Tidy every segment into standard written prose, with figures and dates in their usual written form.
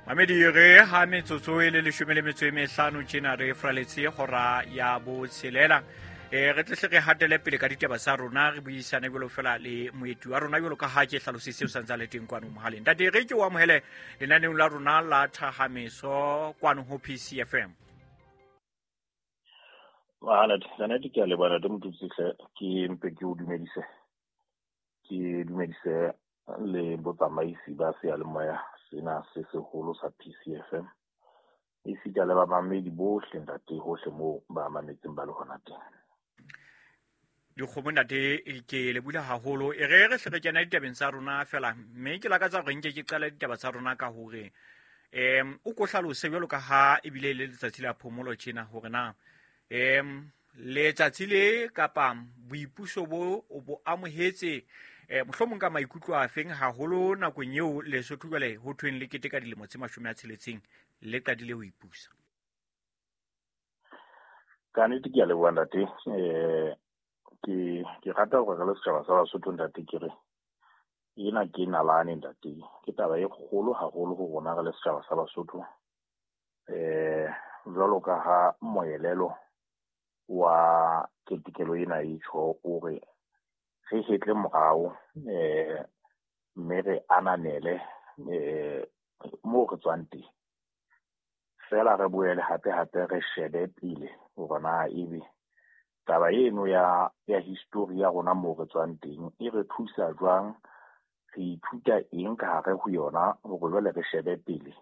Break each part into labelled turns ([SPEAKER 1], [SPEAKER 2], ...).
[SPEAKER 1] Mamedi re ha metsotso e le 15 tjena re fraletse hora ya botshelela. Re tle re hatele pele ka ditaba tsa rona, re buisane jwalo fela le moeti wa rona jwalo ka ha ke hlalositse o santse a le teng kwano mohaleng. Ntate, re ke o amohele lenaneong la rona la Thahameso kwano ho PCFM.
[SPEAKER 2] Mahanete, kannete ke a leboha ntate Motutsi hle, ke mpe ke o dumedise. Ke dumedise le botsamaisi ba seyalemoya sena se seholo sa PCFM. Esita le bamamedi bohle ntate hohle moo ba mametseng ba le hona teng.
[SPEAKER 1] Dikgomo ntate ke le bula haholo. E re re hle re kena ditabeng tsa rona fela, mme ke lakatsa hore nke ke qale ditaba tsa rona ka hore o ko hlalose jwalo ka ha ebile le letsatsi la phomolo tjena hore na letsatsi le kapa boipuso bo o bo amohetse mohlomong ka maikutlo a feng haholo nakong eo Lesotho jwale ho thweng le keteka dilemo tse 60 le qadile ho ipusa.
[SPEAKER 2] Ka nnete ke a leboha ntate. Ke rata hore re le setjhaba sa Basotho ntate ke re ena ke nalane ntate, ke taba e kgolo haholo ho rona re le setjhaba sa Basotho. Jwalo ka ha moelelo wa ketekelo ena e tjho o re re hetle morao mme re ananele moo re tswang teng. Fela re boele hape hape re shebe pele hore na ebe taba eno ya history ya rona moo re tswang teng e re thusa jwang, re ithuta eng ka hare ho yona hore jwale re shebe pele.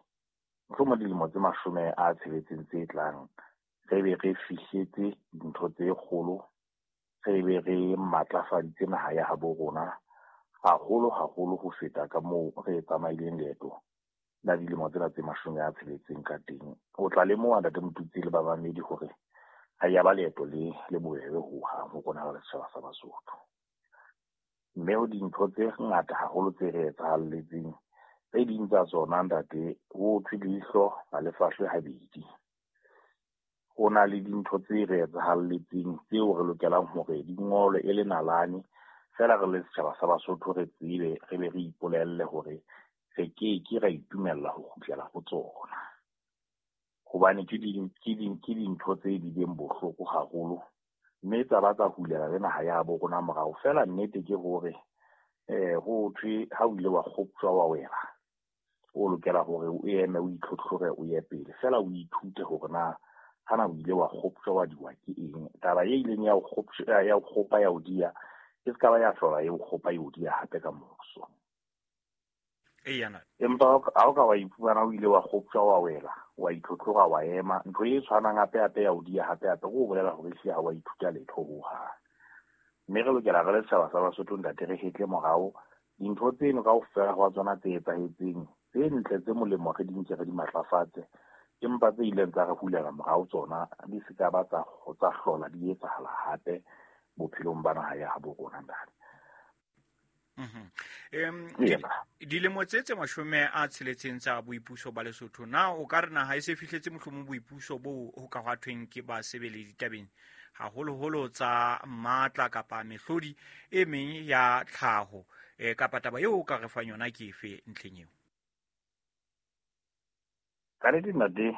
[SPEAKER 2] Mohlomong dilemo tse 60 tse tlang re be re fihletse dintho tse kgolo, re be re matlafaditse naha ya habo rona haholo haholo ho feta ka moo re tsamaileng leeto la dilemo tsena tse 60 ka teng. O tla lemoha ntate Motutsi le bamamedi hore ha ya ba leeto le le bobebe hohang ho rona re le setjhaba sa Basotho. Mme ho dintho tse ngata haholo tse re etsahalletseng, tse ding tsa tsona ntate ho thwe leihlo ha le fahlwe habedi. Ho na le dintho tse re etsahalletseng tseo re lokelang hore di ngolwe e le nalane, fela re le setjhaba sa Basotho re tsebe, re be re ipolelle hore re ke ke ra itumella ho kgutlela ho tsona. Hobane ke dintho tse bileng bohloko haholo, mme tsa ba tsa hulela le naha ya bo rona morao. Fela nnete ke hore ho thwe ha o ile wa kgoptjwa wa wela, o lokela hore o eme o itlhotlhore o ye pele. Fela o ithute hore na hana o ile wa kgoptjwa wa diwa ke eng. Taba e ileng ya o kgoptjwa, ya o kgopa ya o diya, e se ka ba ya hlola e o kgopa e o diya hape ka moso. Empa ha o ka wa iphumana o ile wa kgoptjwa wa wela, wa itlhotlhora wa ema, ntho e tshwanang hape hape ya o diya hape hape, o bolela hore ehlile ha wa ithuta letho hohang. Mme re lokela re le setjhaba sa Basotho ntate re hetle morao dintho tseno kaofela hwa tsona tse etsahetseng, tse ntle tse molemo re di nke re di matlafatse, empa tse ileng tsa re hulela morao tsona di se ka ba tsa hlola di etsahala hape bophelong ba naha ya habo rona ntate.
[SPEAKER 1] Dilemo tse 60 tsa boipuso ba Lesotho, na o ka re naha e se fihletse mohlomong boipuso bo ho ka hwa thweng ke ba sebele ditabeng haholoholo tsa matla kapa mehlodi e meng ya tlhaho, kapa taba eo o ka re fang yona ke efe ntlheng eo?
[SPEAKER 2] Ka nnete ntate,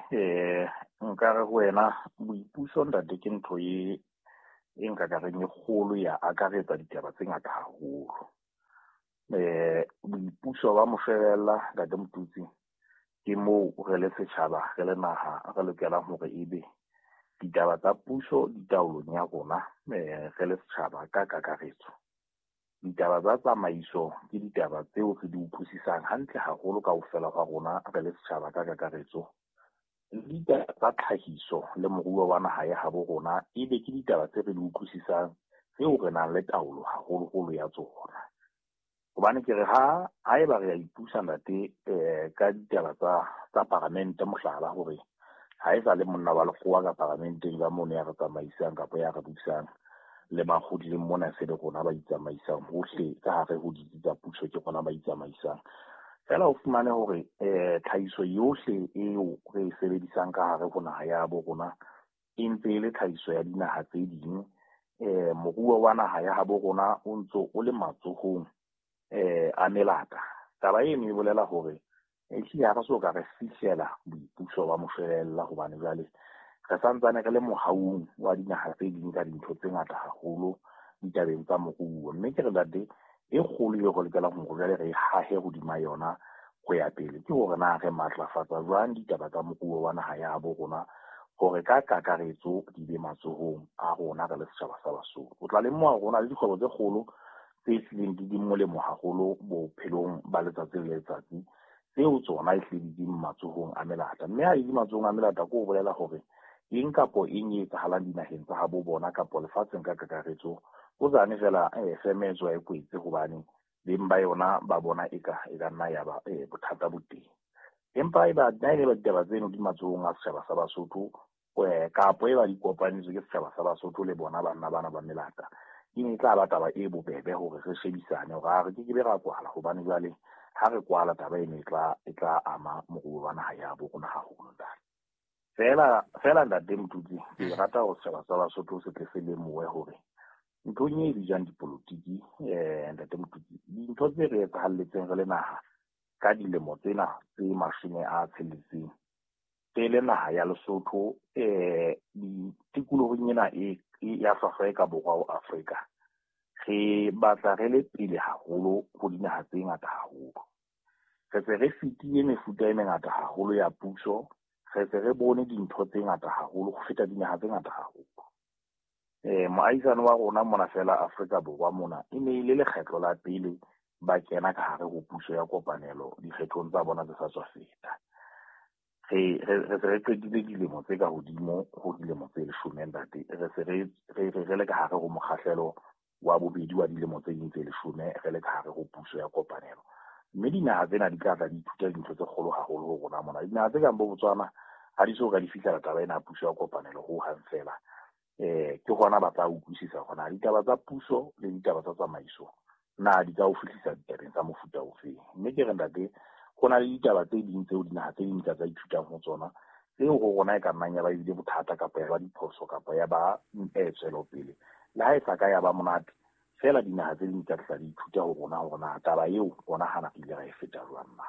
[SPEAKER 2] nka re ho wena boipuso ntate ke ntho e nka ka reng e kgolo ya akaretsa ditaba tse ngata haholo. Boipuso ba moshwelella ntate Motutsi ke moo re le setjhaba re le naha re lokelang hore ebe ditaba tsa puso di taolong ya rona, re le setjhaba ka kakaretso. Ditaba tsa tsamaiso ke ditaba tseo re di utlwisisang hantle haholo kaofela hwa rona re le setjhaba ka kakaretso. Le ditaba tsa tlhahiso le moruo wa naha ya habo rona ebe ke ditaba tse re di utlwisisang tseo re nang le taolo haholoholo ya tsona. Hobane ke re ha eba re a ipusa ntate ka ditaba tsa paramente mohlala hore ha e sa le monna wa lekgowa ka paramenteng ka mono ya re tsamaisang kapa ya re busang le makgotleng mona se le rona ba itsamaisang hohle ka hare ho ditsi tsa puso ke rona ba itsamaisang. Fela o fumane hore tlhahiso yohle eo re e sebedisang ka hare ho naha ya bo rona e ntse e le tlhahiso ya dinaha tse ding. Moruo wa naha ya habo rona o ntso o le matsohong a melata. Taba eno e bolela hore Ehlile ha re so ka re fihlela boipuso ba moshwelella, hobane jwale re santsane re le mohaung wa dinaha tse ding ka dintho tse ngata haholo ditabeng tsa moruo. Mme ke re ntate, e kgolo eo re lokelang hore jwale re hahe hodima yona ho ya pele ke hore na re matlafatsa jwang ditaba tsa moruo wa naha ya bo rona, hore ka kakaretso di be matsohong a rona re le setjhaba sa Basotho. O tla lemoha hore ho na le dikgwebo tse kgolo tse hlileng di molemo haholo bophelong ba letsatsi le letsatsi, tseo tsona e hlile di matsohong a melata. Mme ha di matsohong a melata, ke ho bolela hore eng kapo eng e etsahalang dinaheng tsa habo bona kapo lefatsheng ka kakaretso, o tsane fela feme e tswa e kwetse, hobane beng ba yona ba bona eka e ka nna ya ba bothata bo teng. Empa eba nna e ba ditaba tseno di matsohong a setjhaba sa Basotho, kapo e ba di kopanetswe ke setjhaba sa Basotho le bona banna bana ba melata, e ne e tla ba taba e bobebe hore re shebisane hore ha re ke ke be ra kwala, hobane jwale ha re kwala taba eno e tla ama moruo wa naha ya bo rona haholo ntate. Fela ntate Motutsi, ke rata hore setjhaba sa Basotho se tle se lemohe hore nthong e bitswang dipolotiki, ntate Motutsi, dintho tse re etsahalletseng re le naha ka dilemo tsena tse 60 pele naha ya Lesotho tikolohong ena e ya hlwahlwa e ka borwa ho Afrika, re batla re le pele haholo ho dinaha tse ngata haholo. Re se re fetile mefuta e mengata haholo ya puso, re se re bone dintho tse ngata haholo ho feta dinaha tse ngata haholo. Moahisane wa rona mona fela Afrika Borwa mona e ne e le lekgetlo la pele ba kena ka hare ho puso ya kopanelo dikgethong tsa bona tse sa tswa feta. Re se re qetile dilemo tse ka hodimo ho dilemo tse 10 ntate. Re se re le ka hare ho mokgahlelo wa bobedi wa dilemo tse ding tse 10 re le ka hare ho puso ya kopanelo. Mme dinaha tsena di tla tla di ithuta dintho tse kgolo haholo ho rona mona. Dinaha tse kang bo Botswana ha di so ka di fihlela taba ena ya puso ya kopanelo ho hang fela. Ke hona ba tla utlwisisa hore na ditaba tsa puso le ditaba tsa tsamaiso na di ka o fihlisa ditabeng tsa mofuta ofeng. Mme ke re ntate, ho na le ditaba tse ding tseo dinaha tse ding tsa ithutang ho tsona, tseo ho rona e ka nnang ya ba ebile bothata kapa ya ba diphoso kapa ya ba tswelopele. Le ha e sa ka ya ba monate, fela dinaha tse ding tsa tla di ithuta ho rona hore na taba eo rona hana re ile ra e feta jwang na.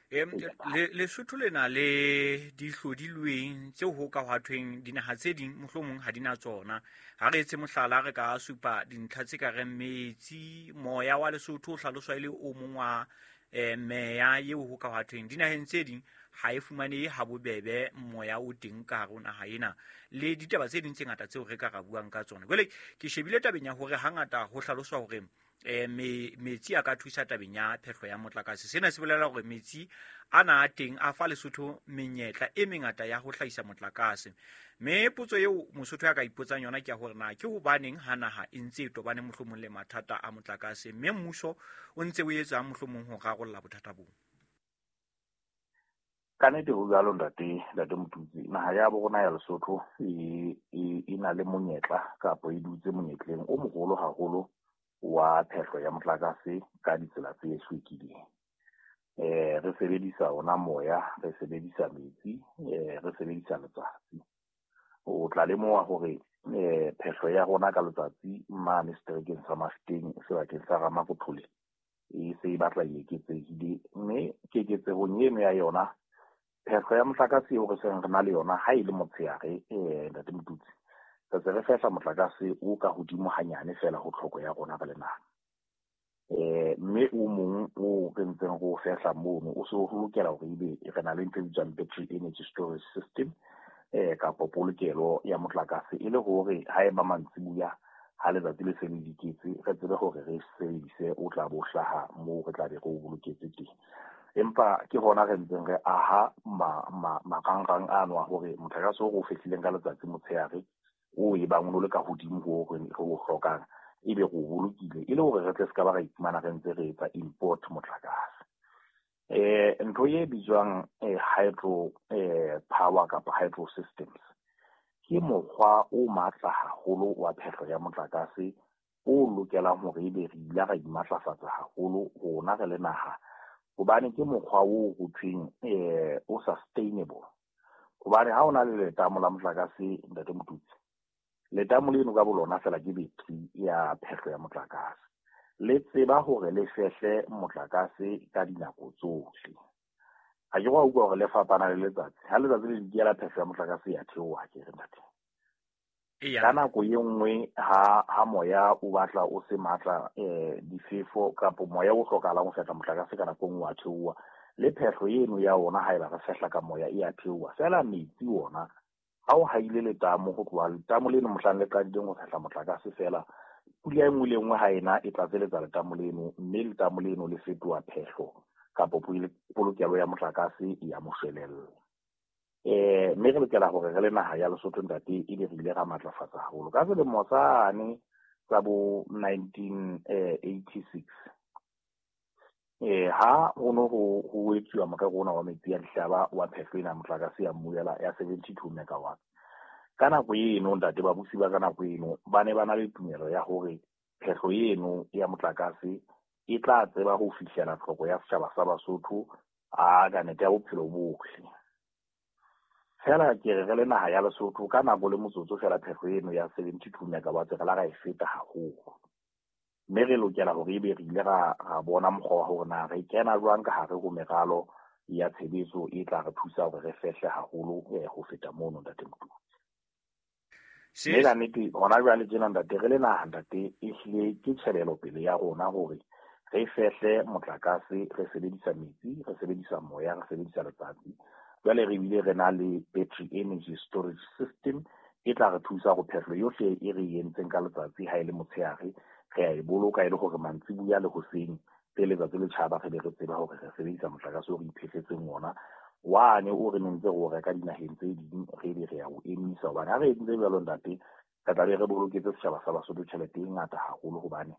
[SPEAKER 1] Lesotho le na le dihlodilweng tseo ho ka hwa thweng dinaha tse ding mohlomong ha di na tsona. Ha re etse mohlala, re ka supa dintlha tse ka reng metsi, moya wa Lesotho o hlaloswa e le o mong wa meya eo ho ka hwa thweng dinaheng tse ding ha e fumanehe ha bobebe moya o teng ka hare ho naha ena, le ditaba tse ding tse ngata tseo re ka ra buang ka tsona. Jwale ke shebile tabeng ya hore hangata ho hlaloswa hore metsi a ka thusa tabeng ya phehlo ya motlakase. Sena se bolela hore metsi ana a teng a fa Lesotho menyetla e mengata ya ho hlahisa motlakase. Mme potso eo Mosotho a ka ipotsang yona ke ya hore na ke hobaneng ha naha e ntse e tobane mohlomong le mathata a motlakase, mme mmuso o ntse o etsang mohlomong ho rarolla bothata boo?
[SPEAKER 2] Ka nnete ho jwalo ntate Motutsi, naha ya bo rona ya Lesotho e na le monyetla kapa e dutse monyetleng o moholo haholo wa phehlo ya motlakase ka ditsela tse hlwekileng. Re sebedisa ona moya, re sebedisa metsi, re sebedisa letsatsi. O tla lemoha hore phehlo ya rona ka letsatsi mane seterekeng sa Mafeteng sebakeng sa Ramakothole e se e batla e eketsehile, mme keketsehong eno ya yona phehlo ya motlakase eo re seng re na le yona ha e le motshehare, ntate Motutsi, re se re fehla motlakase o ka hodimo hanyane fela ho tlhoko ya rona re le naha. Mme o mong o re ntseng re o fehla mono o se o lokela hore ebe re na le ntho e bitswang battery energy storage system, kapa polokelo ya motlakase, e le hore ha eba mantsibuya ha letsatsi le se le diketse re tsebe hore re sebedise o tla bo hlaha moo re tla be re o boloketse teng. Empa ke hona re ntseng re aha marangrang ano a hore motlakase o re o fehlileng ka letsatsi motshehare o e bang o le ka hodimo ho re o hlokang, ebe re o bolokile e le hore re tle se ka ba ra iphumana re ntse re etsa import motlakase. Ntho e bitswang hydro power kapa hydro systems ke mokgwa o matla haholo wa phehlo ya motlakase o lokelang hore ebe re ile ra imatlafatsa haholo rona re le naha, hobane ke mokgwa o ho thweng o sustainable. Hobane ha o na le letamo la motlakase ntate Motutsi, letamo leno ka bolona fela ke battery ya phehlo ya motlakase, le tseba hore le fehle motlakase ka dinako tsohle. Ha ke wa utlwa hore le fapana le letsatsi. Ha letsatsi le dikela phehlo ya motlakase ya theoha ke re ntate. Ka nako e nngwe ha moya o batla o se matla difefo kapa moya o hlokahalang ho fehla motlakase ka nako e nngwe wa theoha. Le phehlo eno ya ona haeba re fehla ka moya e a theoha. Feela metsi ona ha o haile letamo ho tloha letamo leno mohlang le qadileng ho fehla motlakase feela pula e nngwe le nngwe ha ena e tlatseletsa letamo leno mme letamo leno le fetoha phehlo kapa polokelo ya motlakase ya moshwelella. Mme re lokela hore re le naha ya Lesotho ntate ebe re ile ra matlafatsa haholo. Ka selemo sane sa bo 1986 ha ho no ho etsuwa morero ona wa metsi ya dihlaba wa phehlo ena motlakase ya mmuyela ya 72 megawatts. Ka nako eno ntate babusi ba ka nako eno ba ne ba na le tumelo ya hore phehlo eno ya motlakase e tla tseba ho fihlela tlhoko ya setjhaba sa Basotho a ka nete ya bophelo bohle. Fela ke re le naha ya Lesotho ka nako le motsotso fela phehlo eno ya 72 megawatts re la ra e feta haholo. Mme re lokela hore ebe re ile ra bona mokgwa wa hore na re kena jwang ka hare ho meralo ya tshebetso e tla re thusa hore re fehle haholo ho feta mono ntate Motutsi. Mme ka nnete hona jwale tjena ntate re le naha ntate ehlile ke tjhebelopele ya rona hore re fehle motlakase re sebedisa metsi, re sebedisa moya, re sebedisa letsatsi. Jwale re bile re na le battery energy storage system e tla re thusa hore phehlo yohle e re entseng ka letsatsi ha e le motshehare re a e boloka e le hore mantsibuya le hoseng pele letsatsi le tjhaba re be re tseba hore re sebedisa motlakase o re iphehletseng ona. Wane o re nentse re o reka dinaheng tse ding re be re ya o emisa hobane ha re entse jwalo ntate re tla be re boloketse setjhaba sa Basotho tjhelete e ngata haholo hobane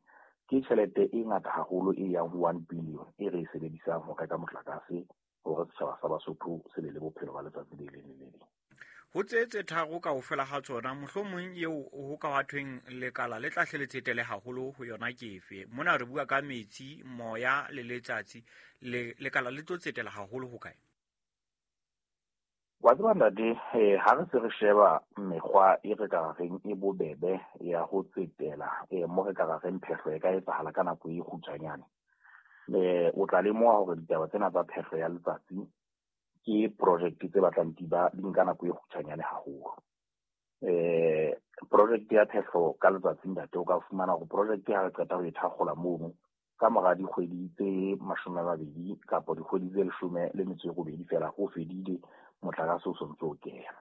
[SPEAKER 2] ke tjhelete e ngata haholo e yang ho 1 billion e re e sebedisang ho reka motlakase hore setjhaba sa Basotho se be le bophelo ba letsatsi le leng le le leng.
[SPEAKER 1] Ho tse tharo kaofela ha tsona mohlomong eo ho ka wa thweng lekala le tla hle le tsetele haholo ho yona ke efe? Mona re bua ka metsi, moya le letsatsi, lekala le tlo tsetela haholo ho kae?
[SPEAKER 2] Wa tseba ntate, ha re se re sheba mekgwa e re ka reng e bobebe ya ho tsetela mo re ka reng phehlo e ka etsahala ka nako e kgutshwanyane. O tla lemoha hore ditaba tsena tsa phehlo ya letsatsi ke project tse batlang di nka nako e kgutshwanyane haholo. Project ya phehlo ka letsatsi ntate o ka fumana hore project ha re qeta ho e thakgola mono ka mora dikgwedi tse 20 kapa dikgwedi tse 18 fela ho fedile motlakase o sontse o kena.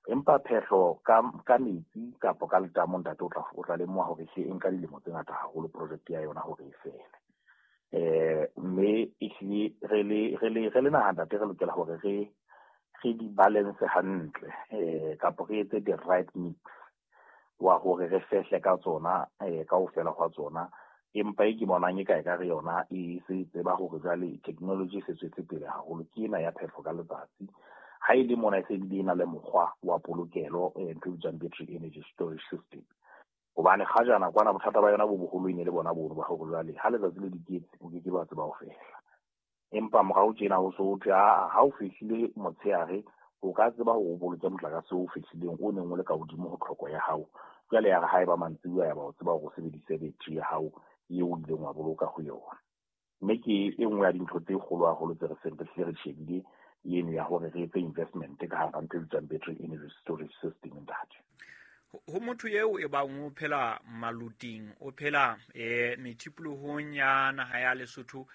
[SPEAKER 2] Empa phehlo ka metsi kapa ka letamo ntate o tla lemoha hore e nka dilemo tse ngata haholo project ya yona hore e fele. Mme ehlile re le naha ntate re lokela hore re di balance hantle kapa re etse the right mix wa hore re fehle ka tsona kaofela hwa tsona. Empa e ke bonang e ka re yona e se tseba hore jwale technology e se tswetse pele haholo ke ena ya phehlo ka letsatsi. Ha e le mona e se bile e na le mokgwa wa polokelo ntho e bitswang battery energy storage system. Hobane kgajana kwana bothata ba yona bo boholo e ne le bona bono ba hore jwale ha letsatsi le diketse o ke ke ba tseba ho fehla. Empa morao tjena ho so thwe ha o fehlile motshehare o ka tseba hore o boloke motlakase o fehlileng o neng o le ka hodimo ho tlhoko ya hao. Jwale ya re ha eba mantsibuya ya ba o tseba hore o sebedise battery ya hao eo o ileng wa boloka ho yona. Mme ke e nngwe ya dintho tse kgolo haholo tse re seng re hlile re shebile eno ya hore re etse investment ka hara ntho e bitswang battery energy storage system ntate.
[SPEAKER 1] Ho motho eo e bang o phela maluting, o phela methipolohong ya naha ya Lesotho,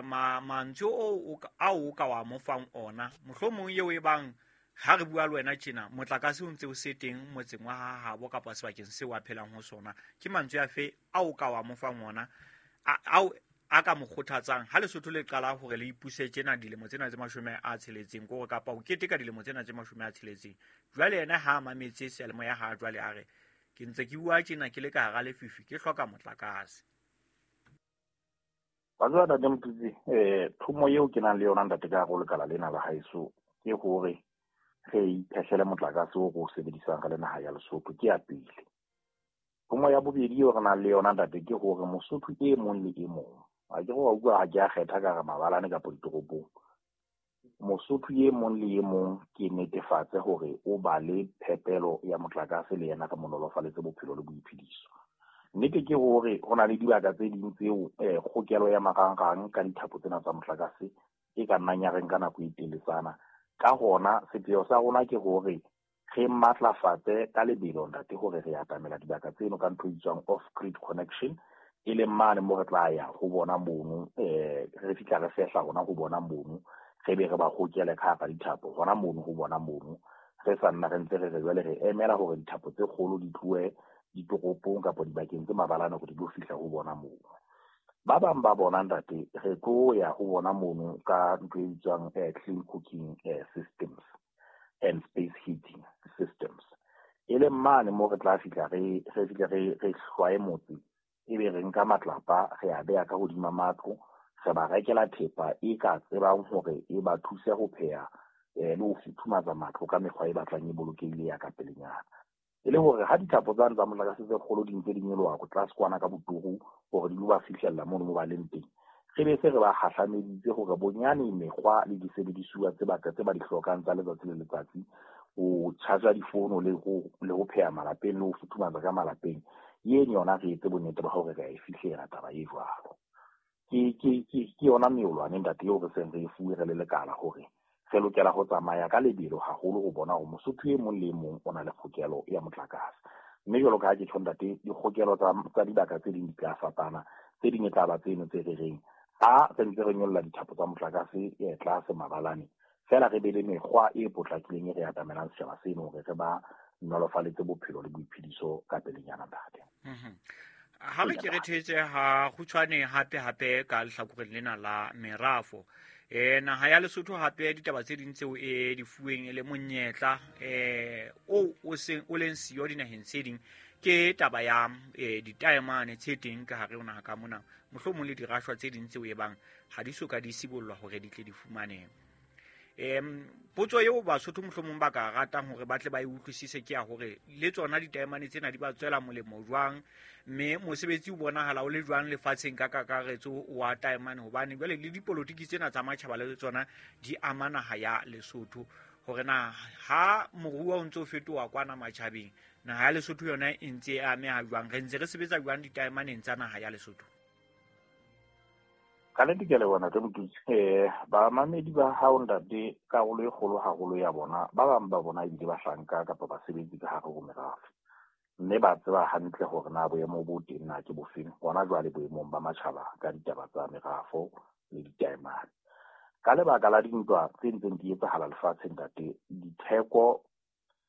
[SPEAKER 1] mantswe ao o ka wa mo fang ona mohlomong eo e bang ha re bua le wena tjena motlakase o ntse o se teng motseng wa habo kapa sebakeng seo a phelang ho sona, ke mantswe afe ao ka wa mo fang ona ao a ka mo kgothatsang ha Lesotho le qala hore le ipuse tjena dilemo tsena tse 60 kore kapa o keteka dilemo tsena tse 60? Jwale yena ha mametse seyalemoya ha jwale a re ke ntse ke bua tjena ke le ka hara lefifi ke hloka motlakase.
[SPEAKER 2] Wa tseba ntate Motutsi, thomo eo ke nang le yona ntate ka hare ho lekala lena la haeso ke hore re iphehlele motlakase o re o sebedisang re le naha ya Lesotho ke ya pele. Thomo ya bobedi eo re nang le yona ntate ke hore Mosotho e mong le e mong, ha ke re wa utlwa ha ke a kgetha ka hara mabalane kapa ditoropong, Mosotho e mong le e mong ke netefatse hore o ba le phepelo ya motlakase le yena re mo nolofaletse bophelo le boiphediso. Nnete ke hore ho na le dibaka tse ding tseo kgokelo ya marangrang ka dithapo tsena tsa motlakase e ka nnang ya re nka nako e teletsana. Ka hona sepheo sa rona ke hore re matlafatse ka lebelo, ntate, hore re atamela dibaka tseno ka ntho e bitswang off grid connection, e leng mane mo re tla ya ho bona mono, re fihla re fehla hona ho bona mono, re be re ba hokele ka hara dithapo hona mono ho bona mono. Re sa nna re ntse re re jwale re emela hore dithapo tse kgolo di tlohe ditoropong kapa dibakeng tse mabalane hore di tlo fihla ho bona mono. Ba bang ba bona, ntate, re tlo ya ho bona mono ka ntho e bitswang clean cooking systems and space heating systems, e leng mane mo re tla fihla re fihle re hlwaye motse, ebe re nka matlapa re a beha ka hodima matlo, re ba rekela thepa e ka tsebang hore e ba thuse ho pheha le ho futhumatsa matlo ka mekgwa e batlang e bolokehile ya ka pelenyana. E le hore ha dithapo tsane tsa motlakase tse kgolo di ntse di nyoloha ko tlase kwana ka boturu hore di lo ba fihlella mono mo ba leng teng, re be se re ba hahlameditse hore bonyane mekgwa le disebedisuwa tse ba di hlokang tsa letsatsi le letsatsi, ho charge difono le ho pheha malapeng le ho futhumatsa ka malapeng, eno yona re etse bonnete ba hore re a e fihlela taba e jwalo. Ke yona meolwane, ntate, eo re seng re e fuwe re le lekala hore re lokela ho tsamaya ka lebelo haholo ho bona hore Mosotho e mong le e mong o na le kgokelo ya motlakase. Mme jwalo ka ha ke tjho, ntate, dikgokelo tsa dibaka tse ding di tla fapana, tse ding e tla ba tseno tse re reng ha re ntse re nyolla dithapo tsa motlakase tlase mabalane, feela re be le mekgwa e potlakileng e re atamelang setjhaba seno hore re ba nolofaletse bophelo le boiphediso ka pelenyana, ntate.
[SPEAKER 1] Ha re ke re thetse ha kgutshwane hape ka lehlakoreng lena la merafo. Naha ya Lesotho hape ditaba tse ding tseo e di fuweng e le monyetla o seng o leng siyo dinaheng tse ding ke taba ya ditaemane tse teng ka hare ho naha ka mona, mohlomong le dirashwa tse ding tseo e bang ha di so ka di sibollwa hore di tle di fumanehe. Potso eo Basotho mohlomong ba ka ratang hore ba tle ba e utlwisise ke ya hore le tsona ditaemane tsena di ba tswela molemo jwang, mme mosebetsi o bonahala o le jwang lefatsheng ka kakaretso wa taemane, hobane jwale le dipolotiki tsena tsa matjhaba le tsona di ama naha ya Lesotho, hore na ha moruo o ntse o fetoha kwana matjhabeng, naha ya Lesotho yona e ntse e ameha jwang, re ntse re sebetsa jwang ditaemaneng tsa naha ya Lesotho?
[SPEAKER 2] Ka nnete ke a leboha, ntate Motutsi. Bamamedi ba hao, ntate, karolo e kgolo haholo ya bona, ba bang ba bona ebile bahlanka kapa basebetsi ka hare ho merafe, mme ba tseba hantle hore na boemo bo teng na ke bofeng hona jwale boemong ba matjhaba ka ditaba tsa merafo le ditaemane. Ka lebaka la dintwa tse ntseng di etsahala lefatsheng, ntate, ditheko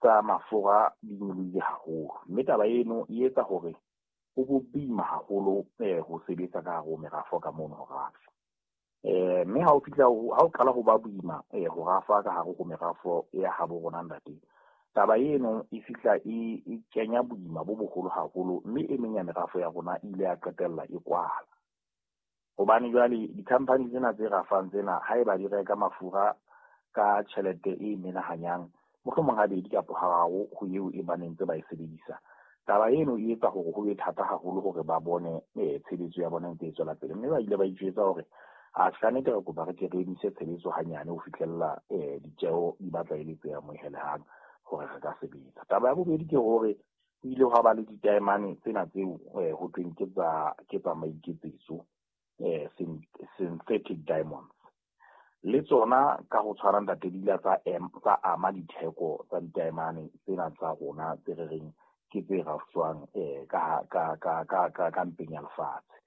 [SPEAKER 2] tsa mafura di nyolohile haholo, mme taba eno e etsa hore ho bo boima haholo ho sebetsa ka hare ho merafo ka mono ho rafa. Mme ha o fihla ha o qala ho ba boima ho rafa ka hare ho merafo ya habo rona, ntate, taba eno e fihla e kenya boima bo boholo haholo, mme e meng ya merafo ya rona e ile ya qetella e kwala. Hobane jwale di-company tsena tse rafang tsena, haeba di reka mafura ka tjhelete e menahanyang, mohlomong habedi kapa hararo ho eo e baneng tse ba e sebedisa, taba eno e etsa hore ho be thata haholo hore ba bone tshebetso ya bona ntse e tswela pele. Mme ba ile ba itjwetsa hore a ka nnete re kopa re ke re emise tshebetso hanyane ho fihlella ditjeho di batla e le tse amohelehang hore re ka sebetsa. Taba ya bobedi ke hore ho ile hwa ba le ditaemane tsena tseo ho tweng ke tsa maiketsetso, synthetic diamonds. Le tsona ka ho tshwana, ntate, di ile tsa ama ditheko tsa ditaemane tsena tsa rona tse re reng ke tse rafshwang ka mpeng ya lefatshe.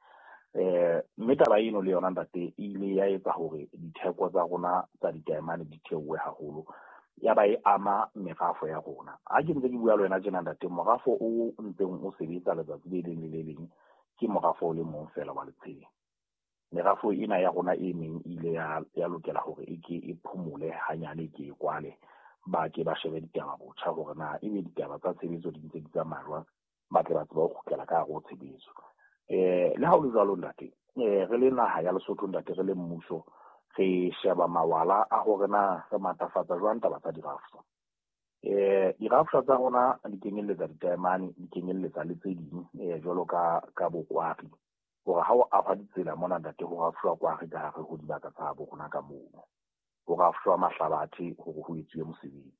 [SPEAKER 2] Mme taba eno le yona, ntate, e ile ya etsa hore ditheko tsa rona tsa ditaemane di theohe haholo, ya ba e ama merafo ya rona. Ha ke ntse ke bua le wena tjena, ntate, morafo o ntseng o sebetsa letsatsi le leng le le leng ke morafo o le mong feela wa Letsheng. Merafo ena ya rona e meng e ile ya lokela hore e ke e phomole hanyane, e ke e kwale, ba ke ba shebe ditaba botjha hore na ebe ditaba tsa tshebetso di ntse di tsamaya jwang, ba tle ba tsebe ho kgutlela ka hare ho tshebetso. Le ha ho le jwalo, ntate, re le naha ya Lesotho, ntate, re le mmuso, re sheba mawala a hore na re matlafatsa jwang taba tsa dirafshwa. Dirafshwa tsa rona di kenyelletsa ditaemane, di kenyelletsa le tse ding jwalo ka bokwari, hore ha o ahwa ditsela mona, ntate, ho rafshwa kwari ka hare ho dibaka tsa habo rona ka mono, ho rafshwa mahlabathe hore ho etsuwe mosebetsi.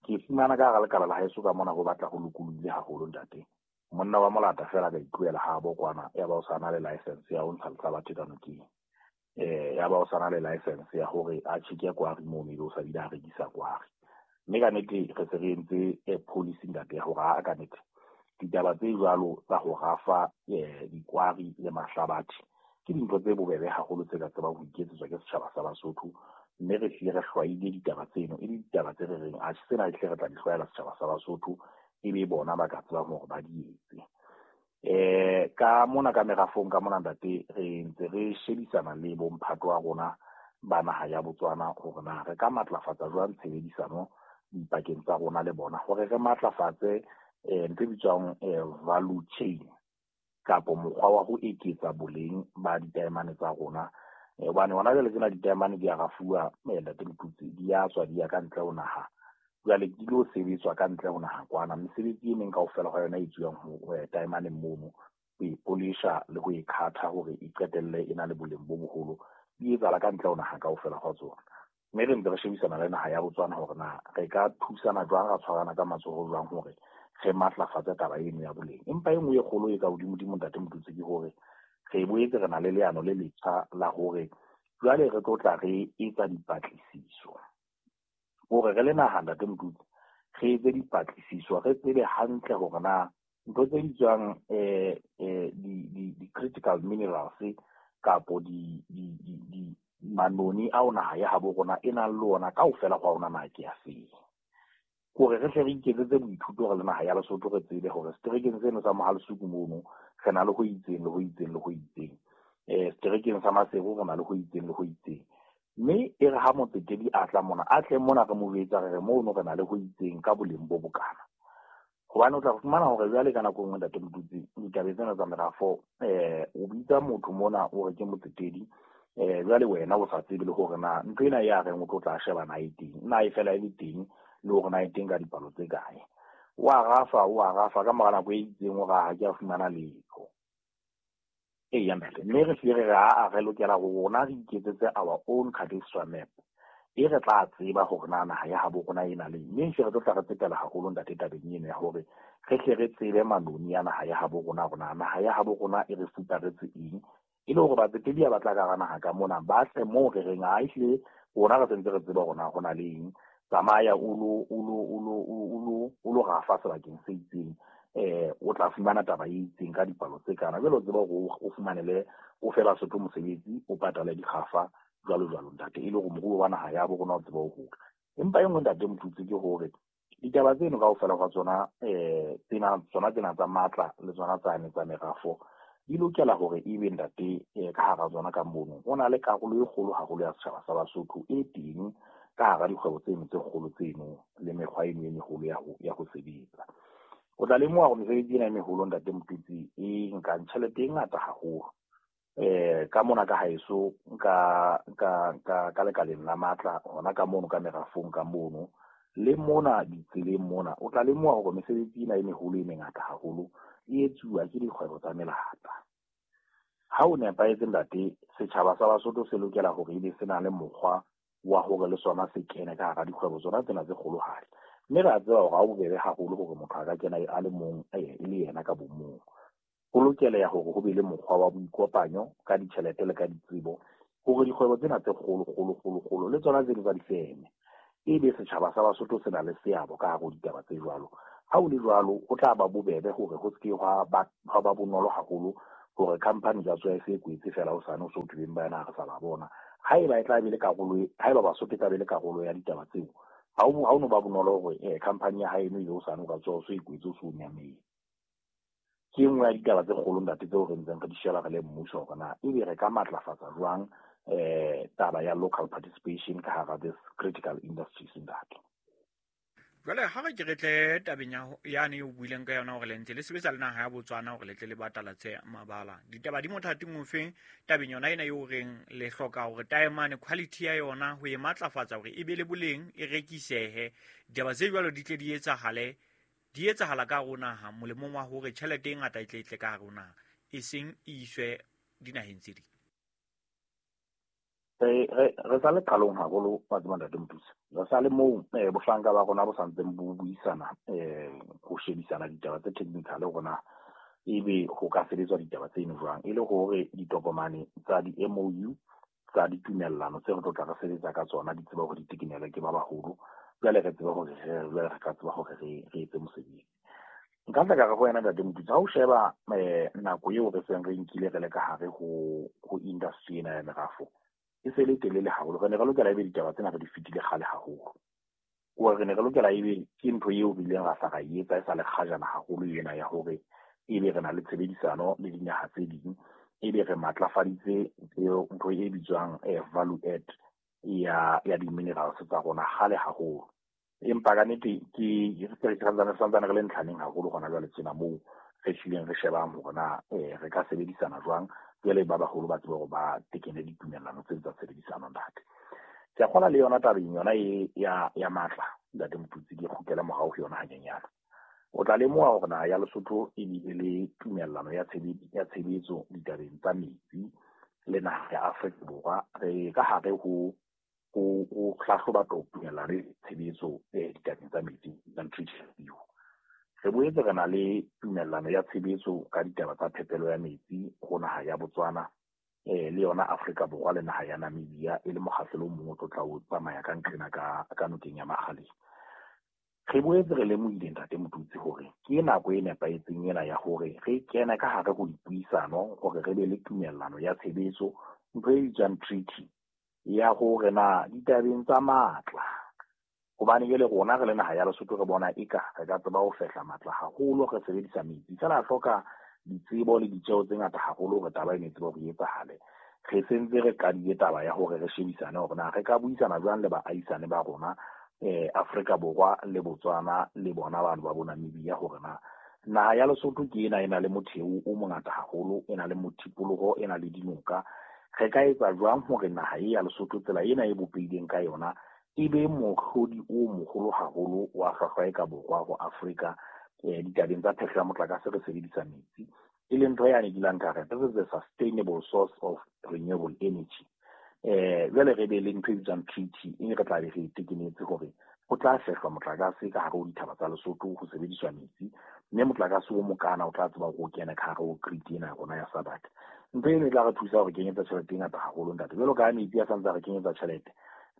[SPEAKER 2] Ke fumana ka hara lekala la haeso ka mona ho batla ho lokolohile haholo, ntate. Monna wa molata feela ka itlohela habo kwana, ya ba o sa na le license ya ho ntsha lehlabathe ka nokeng. Ya ba o sana le license ya hore a tjheke kwari mono ebe o sa bile a rekisa kwari. Mme ka nnete re se re entse policy ntate ya hore a ka nnete ditaba tse jwalo tsa ho rafa dikwari le mahlabathe ke dintho tse bobebe haholo tse ka tsebang ho iketsetswa ke setjhaba sa Basotho. Mme re hlile re hlwaile ditaba tseno e le ditaba tse re reng atjhe tsena ehlile re tla di hlwaela setjhaba sa Basotho ebe bona ba ka tsebang hore ba di etse. Ka mona ka merafong ka mona ntate re ntse re shebisana le bomphato wa rona ba naha ya Botswana hore na re ka matlafatsa jwang tshebedisano dipakeng tsa rona le bona hore re matlafatse ntho e bitswang value chain kapo mokgwa wa ho eketsa boleng ba ditaemane tsa rona. Hobane hona jwale tsena ditaemane di a rafuwa ntate Motutsi, di a tswa di ya ka ntle ho naha. Jwale di lo sebetswa ka ntle ho naha kwana. Mesebetsi e meng kaofela hwa yona e etsuwang ho taemaneng mono, ho e polisha le ho e khatha hore e qetelle e na le boleng bo boholo, di etsahala ka ntle ho naha kaofela hwa tsona. Mme re ntse re shebisana le naha ya Botswana hore na re ka thusana jwang, ra tshwarana ka matsoho jwang hore re matlafatse taba eno ya boleng. Empa e nngwe e kgolo e ka hodimodimo ntate Motutsi ke hore re boetse re na le leano le letjha la hore jwale re tlo tla re etsa dipatlisiso. Hore re le naha ntate Motutsi, re etse dipatlisiso, re tsebe hantle hore na ntho tse bitswang di-critical minerals kapo di manoni ao naha ya habo rona e nang le ona kaofela hwa ona na ke a feng. Hore re hle re iketsetse boithuto re le naha ya Lesotho re tsebe hore seterekeng seno sa Mohalesuku mono re na le ho itseng le ho itseng le ho itseng. Seterekeng sa Maseru re na le ho itseng le ho itseng. Mme e re ha motsetedi a tla mona, a tle mona re mo jwetsa re re mono re na le ho itseng ka boleng bo bokana. Hobane o tla fumana hore jwale ka nako e nngwe ntate Motutsi ditabeng tsena tsa merafo o bitsa motho mona o re ke motsetedi jwale wena o sa tsebe le hore na ntho ena ya reng o tlo tla sheba na e teng, na e fela e le teng le hore na e teng ka dipalo tse kae. Wa rafa ka mora nako e itseng o ra ha ke a fumana letho. Eya ntate, mme re hlile re re aa re lokela ho rona re iketsetse our own cadastral map e re tla tseba hore na naha ya habo rona e na le eng. Mme hle re tlo tla re tsetela haholo ntate tabeng eno ya hore re hle re tsebe manoni ya naha ya habo rona hore na naha ya habo rona e re fuparetse eng, e le hore batsetedi ha ba tla ka hara naha ka mona ba tle moo re reng ha ehlile rona re sentse re tseba hore na ho na le eng. Tsamaya o lo rafa sebakeng se itseng, o tla fumana taba e itseng ka dipalo tse kana. Jwale o tseba hore o fumanele o fe Basotho mosebetsi, o patale dikgafa jwalo jwalo ntate, e le hore moruo wa naha ya bo rona o tsebe ho hola. Empa e nngwe ntate Motutsi ke hore ditaba tseno kaofela hwa tsona tsena tsona tsena tsa matla le tsona tsane tsa merafo di lokela hore ebe ntate ka hara tsona ka mono ho na le karolo e kgolo haholo ya setjhaba sa Basotho e teng ka hara dikgwebo tseno tse kgolo tseno le mekgwa eno e meholo ya ho sebetsa. O tla lemoha hore mesebetsi ena e meholo ntate Motutsi e nkang tjhelete e ngata haholo. Ka mona ka haeso ka lekaleng la matla hona ka mono ka merafong ka mono le mona ditseleng mona o tla lemoha hore mesebetsi ena e meholo e mengata haholo e etsuwa ke dikgwebo tsa melata. Ha o nepahetse ntate, setjhaba sa Basotho se lokela hore ebe se na le mokgwa wa hore le sona se kene ka hara dikgwebo tsona tsena tse kgolohadi. Mme re a tseba hore ha o bobebe haholo hore motho a ka kena a le mong e le yena ka bomong. Ho lokela hore ho be le mokgwa wa boikopanyo ka ditjhelete le ka ditsebo hore dikgwebo tsena tse kgolo kgolo kgolo kgolo le tsona tseno tsa difeme ebe setjhaba sa Basotho se na le seabo ka hare ho ditaba tse jwalo. Ha o le jwalo ho tla ba bobebe hore ho seke hwa ba bonolo haholo hore company tsa tswa e se kwetse fela o sane o so thubeng ba yena ha re sa ba bona. Haeba e tla be le karolo, haeba Basotho e tla be le karolo ya ditaba tseo, ha o no ba bonolo hore company ya haeno ebe o sane o ka tswa o so e kwetse o so nyametse. Ke e nngwe ya ditaba tse kgolo ntate tseo re ntseng re di sheba re le mmuso hore na ebe re ka matlafatsa jwang taba ya local participation ka hara this critical industries ntate.
[SPEAKER 1] Jwale ha re ke re tle tabeng yane o buileng ka yona hore le ntse le sebetsa le naha ya Botswana hore le tle le batalatse mabala. Ditaba di mothating ofeng tabeng yona ena eo reng le hloka hore taemane quality ya yona ho e matlafatsa hore e be le boleng e rekisehe. Ditaba tse jwalo di tle di etsahale, di etsahala ka hare ho naha molemong wa hore tjhelete e ngata e tle e tle ka hare ho naha, e seng e iswe dinaheng tse ding.
[SPEAKER 2] Re sa le qalong haholo wa tseba ntate Motutsi. Re sa le moo bohlanka ba rona bo santseng bo buisana ho shebisana ditaba tse technical hore na ebe ho ka sebetswa ditaba tseno jwang, e le hore ditokomane tsa di-MOU tsa ditumellano tse re tlo tla re sebetsa ka tsona, di tseba hore di tekenelwe ke ba baholo. Jwale re tsebe hore jwale re ka tseba hore re etse mosebetsi. Nka tla ka re ho wena Ntate Motutsi, ha o sheba nako eo re seng re nkile re le ka hare ho industry ena ya merafo, e se le telele haholo. Re ne re lokela ebe ditaba tsena re di fetile kgale haholo. Hore re ne re lokela ebe ke ntho eo re ileng ra hla ra e etsa e sa le kgajana haholo ena ya hore ebe re na le tshebedisano le dinaha tse ding, ebe re matlafaditse ntho e bitswang value add ya di-minerals tsa rona kgale haholo. Empa ka nnete ke re santsane re le ntlhaneng haholo hona jwale tjena moo re hlileng re shebang hore na re ka sebedisana jwang. Jwale ba baholo ba tsebe hore ba tekene ditumellano tse tsa tshebedisano ntate. Ke a kgolwa le yona tabeng yona e ya matla Ntate Motutsi, ke kgutlele morao ho yona hanyenyana. O tla lemoha hore naha ya Lesotho e bile le tumellano ya tshebetso ditabeng tsa metsi le naha ya Afrika Borwa. Re ka hare ho hlahloba tumellano ya tshebetso ditabeng tsa metsi review. Re boetse re na le tumellano ya tshebetso ka ditaba tsa phepelo ya metsi ho naha ya Botswana le yona Afrika Borwa le naha ya Namibia, e le mokgahlelo o mong o tlo tla o tsamaya ka nqena ka nokeng ya Makgaleng. Re boetse re lemohile Ntate Motutsi hore ke nako e nepahetseng ena ya hore re kene ka hare ho dipuisano hore re be le tumellano ya tshebetso, ntho e bitswang treaty ya hore na ditabeng tsa matla, hobane jwale rona re le naha ya Lesotho re bona eka re ka tseba ho fehla matla haholo re sebedisa metsi, feela hloka ditsebo le ditjeo tse ngata haholo hore taba ena e tsebe hore e etsahale. Re sentse re qadile taba ya hore re shebisane hore na re ka buisana jwang le baahisane ba rona Afrika Borwa le Botswana le bona bano ba bo Namibia, hore na naha ya Lesotho ke ena e na le motheo o mongata haholo, e na le mothipoloho, e na le dinoka. Re ka etsa jwang hore naha e ya Lesotho tsela ena e bopehileng ka yona e be mohlodi o moholo haholo wa hlwahlwa e ka borwa ho Afrika ditabeng tsa phehlo ya motlakase re sebedisa metsi, e leng ntho yane dulang ka re this is a sustainable source of renewable energy. Jwale re be le ntho e bitswang treaty e re tla be re tekenetse hore ho tla fehlwa motlakase ka hare ho dithaba tsa Lesotho ho sebediswa metsi, mme motlakase o mokana o tla tseba hore o kene ka hare ho grid ena ya rona ya SADC. Ntho eno e tla re thusa hore kenyetsa tjhelete e ngata haholo ntate. Jwalo ka ha metsi a santse a re kenyetsa tjhelete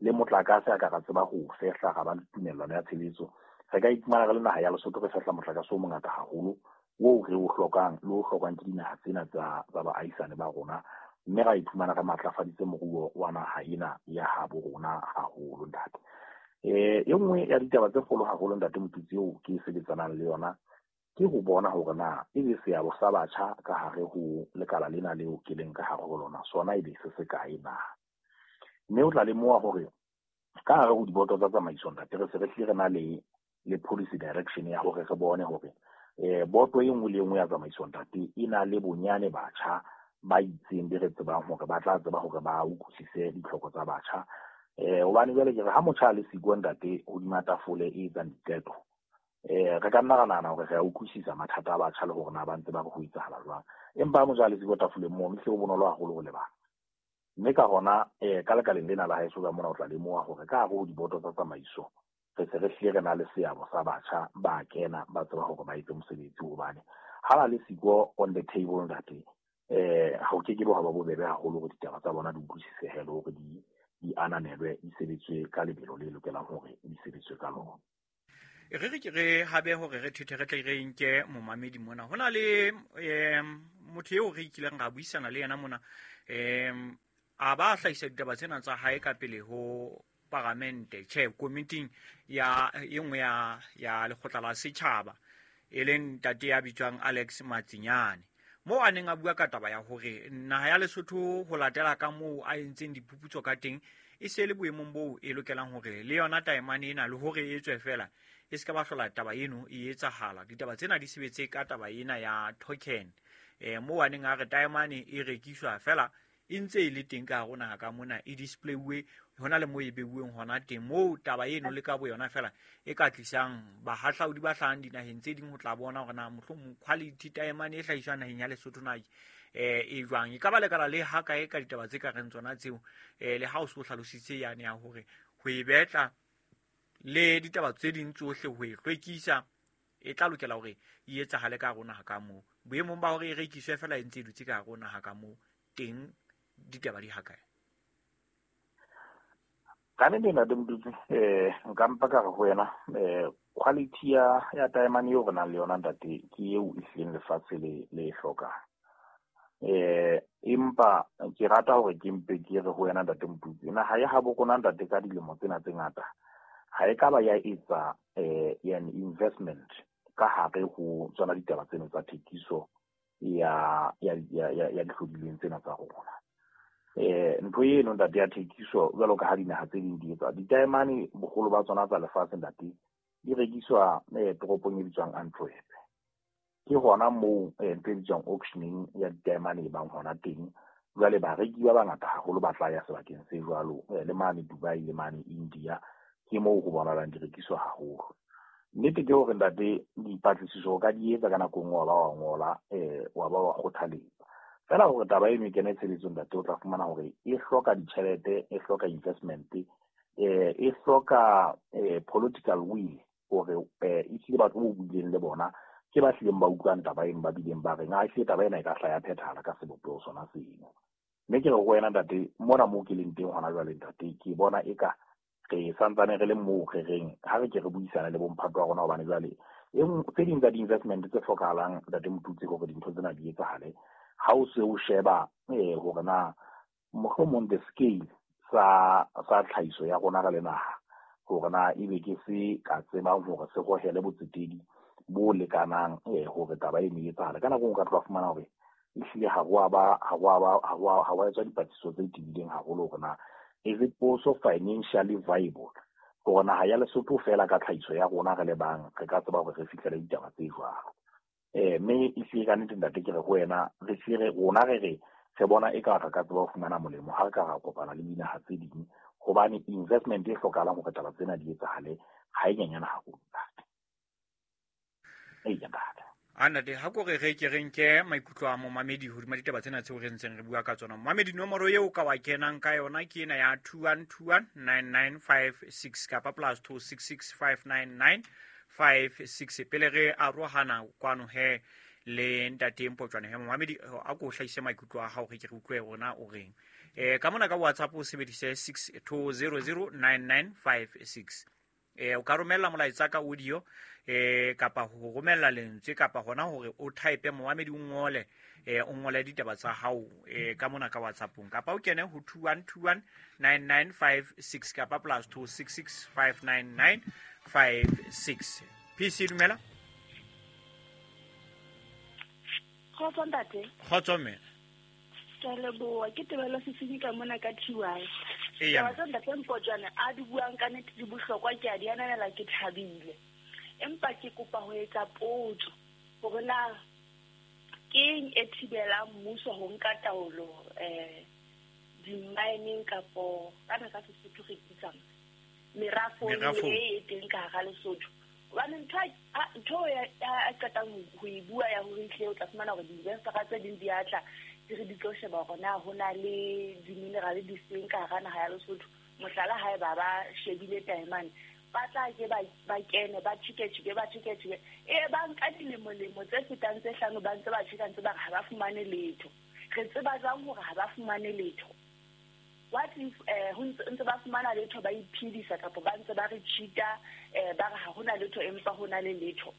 [SPEAKER 2] le motlakase a ka ra tseba ho fehla, ra ba le tumellano ya tshebetso, re ka iphumana re le naha ya Lesotho re fehla motlakase o mongata haholo oo re o hlokang le o hlokwang ke dinaha tsena tsa baahisane ba rona, mme ra iphumana re matlafaditse moruo wa naha ena ya habo rona haholo ntate. E nngwe ya ditaba tse kgolo haholo Ntate Motutsi eo ke sebetsanang le yona ke ho bona hore na ebe seabo sa batjha ka hare ho lekala lena leo ke leng ka hare ho lona sona ebe se se kae na. Mme o tla lemoha hore ka hare ho diboto tsa tsamaiso ntate re se re hlile re na le policy direction ya hore re bone hore boto e nngwe le e nngwe ya tsamaiso ntate e na le bonyane batjha ba itseng be re tsebang hore ba tla tseba hore ba utlwisise ditlhoko tsa batjha. Hobane jwale ke re ha motjha a le siko ntate hodima tafole e etsang diqeto, re ka nna ra nahana hore re a utlwisisa mathata a batjha le hore na ba ntse ba re ho etsahala jwang, empa ha motjha a le siko tafoleng mono hle ho bonolo haholo ho lebala. Mme ka hona ka lekaleng lena la haeso ka mona o tla lemoha hore ka hare ho diboto tsa tsamaiso re se re hlile re na le seabo sa batjha ba kena ba tseba hore ba etse mosebetsi, hobane ha ba le siko on the table ntate ha o ke ke bo ha ba bobebe haholo hore ditaba tsa bona di utlwisisehe le hore di ananelwe, di sebetswe ka lebelo le lokelang hore di sebetswe ka lona.
[SPEAKER 1] Re re ke re habe hore re thethe re tle re nke momamedi mona. Ho na le motho eo re kileng ra buisana le yena mona, a ba hlahisa ditaba tsena tsa hae ka pele ho paramente, tjhe komiting ya e nngwe ya lekgotla la setjhaba, e leng ntate ya bitswang Alex Matsinyane, moo a neng a bua ka taba ya hore naha ya Lesotho ho latela ka moo a entseng diphuputso ka teng e se le boemong boo e lokelang hore le yona taemane ena le hore e tswe fela e se ka ba hlola taba eno e etsahala. Ditaba tsena di sebetse ka taba ena ya token, moo a neng a re taemane e rekiswa fela e ntse e le teng ka hare naha ka mona, e displayiwe hona le moo e beuweng hona teng, moo taba eno le ka boyona fela e ka tlisang bahahlaudi ba hlahang dinaheng tse ding ho tla bona hore na mohlomong quality taemane e hlahiswang naheng ya Lesotho na e jwang. E ka ba lekala le ha kae ka ditaba tse ka reng tsona tseo, le ha o se o hlalositse yane ya hore ho e betla le ditaba tse ding tsohle ho e hlwekisa e tla lokela hore e etsahale ka hare naha ka moo, boemong ba hore e rekiswe fela e ntse e dutse ka hare naha ka moo teng ditaba di ha kae.
[SPEAKER 2] Ka nnete, ntate Motutsi, nka mpa ka re ho wena, quality ya taemane eo re nang le yona, ntate, ke eo e hlileng lefatshe le e hlokang. Empa ke rata hore ke mpe ke re ho wena, ntate Motutsi, naha ya habo rona, ntate, ka dilemo tsena tse ngata ha e ka ba ya etsa an investment ka hare ho tsona ditaba tseno tsa thekiso ya dihlodilweng tsena tsa rona. Ntho eno, ntate, ya thekiso, jwalo ka ha dinaha tse ding di etsa ditaemane, boholo ba tsona tsa lefatshe, ntate, di rekiswa toropong e bitswang Antwerp. Ke hona moo ntho e bitswang auctioning ya ditaemane e bang hona teng. Jwale bareki ba bangata haholo ba tla ya sebakeng se jwalo, le mane Dubai le mane India, ke moo ho bonahalang di rekiswa haholo. Nnete ke hore, ntate, dipatlisiso o ka di etsa ka nako e nngwe, wa ba wa ngola, wa ba wa kgothaletsa fela hore taba eno e kene tshebetsong, ntate, o tla fumana hore e hloka ditjhelete, e hloka investment, e hloka political will, hore ehlile batho bo buileng le bona ke ba hlileng ba utlwang taba eno, ba bileng ba reng a ehlile taba ena e ka hla ya phethahala ka sebopeho sona seno. Mme ke re ho wena, ntate, mona moo ke leng teng hona jwale, ntate, ke bona eka re santsane re le moo re reng ha re ke re buisane le bomphato wa rona, hobane jwale tse ding tsa di-investment tse hlokahalang, ntate Motutsi, hore dintho tsena di etsahale, ha o se o sheba hore na mohlomong the scale sa tlhahiso ya rona re le naha, hore na ebe ke se ka tsebang hore se hohele botsetedi bo lekanang hore taba eno e etsahale. Ka nako e nngwe o ka tloha fumana hore ehlile ha ho a ba ha ho a ba ha ho a ha wa etswa dipatlisiso tse tebileng haholo hore na is it also financially viable hore naha ya Lesotho fela ka tlhahiso ya rona re le bang re ka tseba hore re fihlele ditaba tse jwalo. Mme ehlile ka nnete, ntate, ke re ho wena, re hlile rona re bona eka re ka tseba ho fumana molemo ha re ka ra kopana le dinaha tse ding, hobane investment e hlokahalang hore taba tsena di etsahale ha e nyenyane haholo, ntate. Eya, ntate.
[SPEAKER 1] A ntate, ha ko re re ke re nke maikutlo a momamedi hodima ditaba tsena tseo re ntseng re bua ka tsona. Momamedi, nomoro eo ka wa kenang ka yona ke ena ya 21219956 kapa +26659956. Pele re arohana kwano he le ntate Mpotjwane, he momamedi, a ko hlahise maikutlo a hao, re ke re utlwe rona o reng. Ka mona ka WhatsApp o sebedise 62009956. O ka romella molaetsa ka audio, kapa ho romella lentswe, kapa hona hore o type, momamedi, o ngole ditaba tsa hao ka mona ka WhatsAppong, kapa o kene ho 21219956 kapa +26659956. PC, dumela.
[SPEAKER 3] Kgotso, ntate.
[SPEAKER 1] Kgotso, mme.
[SPEAKER 3] Ke a leboha. Ke Tebelo Sesenyi ka mona ka TY.
[SPEAKER 1] Eya.
[SPEAKER 3] Taba tse ntate Mpotjwane a di buang ka nnete di bohlokwa, ke a di ananela, ke thabile. Empa ke kopa ho etsa potso hore na keng e thibelang mmuso ho nka taolo di-mineng, kapo kana ka Sesotho re bitsang merafong
[SPEAKER 1] Merafong.
[SPEAKER 3] e teng ka hara Lesotho. Hobane ntho ya a qetang ho e bua ya hore ehlile o tla fumana hore di-investor-a tse ding di a tla, di re di tlo sheba hore na ho na le di-mineral di feng ka hara naha ya Lesotho. Mohlala, haeba ba shebile taemane, ba tla ke ba kene, ba tjheke-tjheke, ba tjheke-tjheke, e ba nka dilemo-lemo tse fetang tse 5 ba ntse ba tjheka, ntse ba re ha ba fumane letho. Re tseba jwang hore ha ba fumane letho? What if ho ntse ba fumana letho, ba iphedisa, kapa ba ntse ba re cheat-a, ba re ha hona letho empa ho na le letho?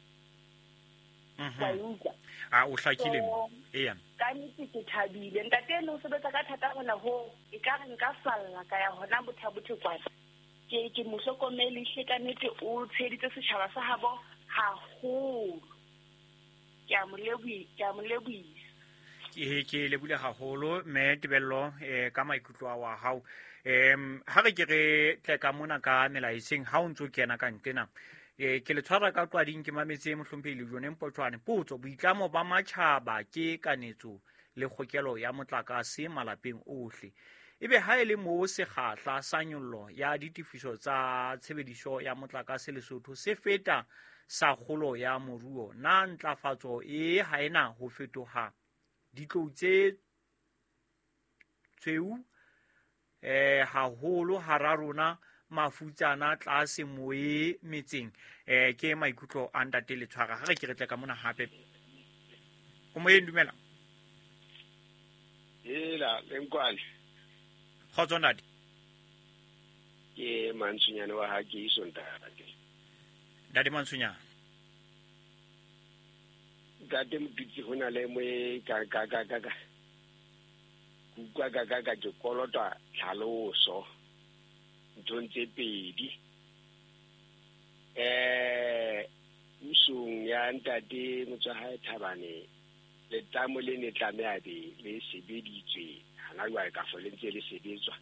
[SPEAKER 3] Wa e utlwa?
[SPEAKER 1] A o hlakile.
[SPEAKER 3] So,
[SPEAKER 1] Eya.
[SPEAKER 3] ka nnete ke thabile, ntate eno o sebetsa ka thata hona ho e ka re nka falla ka ya hona Botha-Bothe kwana. Ke mo hlokomele hle, ka nnete o tsheheditse setjhaba sa habo haholo. Ke a mo lebohisa.
[SPEAKER 1] Ke lebohile haholo, mme Tebello, ka maikutlo a wa hao. Ha re ke re tle ka mona ka melaetseng ha o ntso kena ka ntlena. Ke le tshwara ka qwading, ke mametse mohlomphehi Lejone Mpotjwane. Potso: boitlamo ba matjhaba ke kanetso le kgokelo ya motlakase malapeng ohle. Ebe ha e le moo sekgahla sa nyollo ya ditefiso tsa tshebediso ya motlakase Lesotho se feta sa kgolo ya moruo, na ntlafatso e ha ena ho fetoha ditlou tse tshweu haholo hara rona mafutsana tlase moe metseng? Ke maikutlo a ntate Letshwara. Ha re ke re tle ka mona hape. O moyeng, dumela.
[SPEAKER 4] Hela, Lenkwane.
[SPEAKER 1] Kgotso, ntate.
[SPEAKER 4] Ke Mantsonyane wa ha ke iso ntate.
[SPEAKER 1] Ntate Mantsonyane.
[SPEAKER 4] Ntate Motutsi ho na le moe ka ka ka ka ka. Kuka ka ka ka ke kolota tlhaloso. Nthong tse pedi. Pusong ya ntate Motswahae Thabane letamo le ne tlameha be le sebeditswe hana jwale ka fo le ntse le sebetswa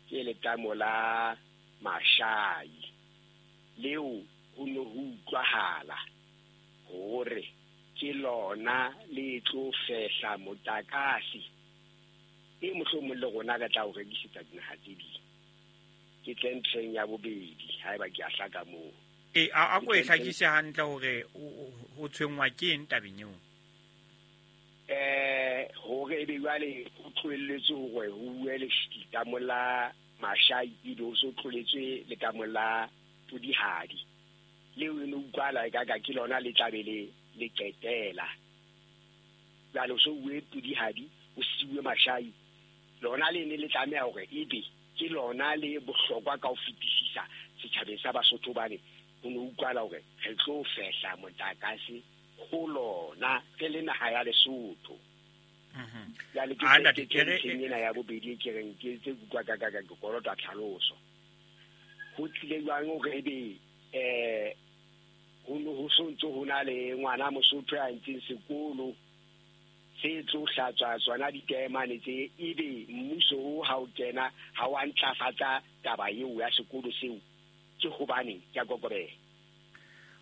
[SPEAKER 4] ke letamo la Mashai leo ho ne ho utlwahala hore ke lona le tlo fehla motlakase e mohlomong le rona re tla o rekisetsa dinaha tse ding. Ke tle ntlheng ya bobedi haeba ke a hlaka moo.
[SPEAKER 1] E a ko e hlakise hantle hore o tshwenngwa ke eng tabeng eo?
[SPEAKER 4] Hore ebe jwale ho tlohelletswe hore ho bue letamo la Mashai ebe ho so tloletswe letamo la Pudihadi. Leo e ne utlwala ekaka ke lona le tlabe le qetela. Jwale ho so bue Pudihadi, ho siuwe Mashai. Lona le ne le tlameha hore ebe ke lona le bohlokwa ka ho fetisisa setjhabeng sa Basotho bane ho ne utlwala hore re tlo fehla motlakase ho lona re le naha ya Lesotho. Jwale ke ke ntlheng ena ya bobedi ke reng ke tse utlwa ka ka ke kolota tlhaloso. Ho tlile jwang hore ebe ho ne ho so ntso ho na le ngwana Mosotho ya ntseng sekolo se tlo hlatswa tsona ditaemane tse ebe mmuso o ha o kena ha wa ntlafatsa taba eo ya sekolo seo ke hobaneng ke a kokobela.